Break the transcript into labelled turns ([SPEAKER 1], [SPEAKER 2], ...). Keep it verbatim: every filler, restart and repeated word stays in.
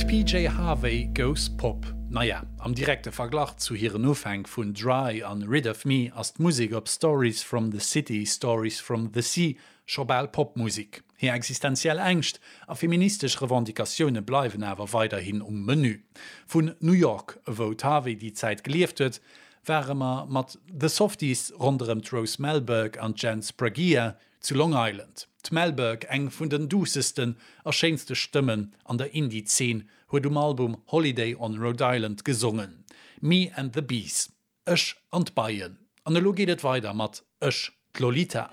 [SPEAKER 1] P J Harvey goes Pop. Naja, am direkte Verglach zu hiren Ufänk vun Dry an Rid of Me ass d'Musek op Stories from the City, Stories from the Sea scho bal Popmusek. Hir existenziell Ängscht a feministesch Revendicatioune bleiwen awer weiderhin um Menü. Vun New York, wou d'Harvey déi Zäit gelieft huet, ware mer mat The Softies ronderëm d'Rose Melberg an Jen Spragia zu Long Island. D'Melberg, eng vun den duussesten a schéinste Stëmmen an der Indie-Zeen, huet um Album Holiday on Rhode Island gesongen. Me and the Bees. Ech an d'Beien. An elo geet et weider mat Ech, d'Lolita.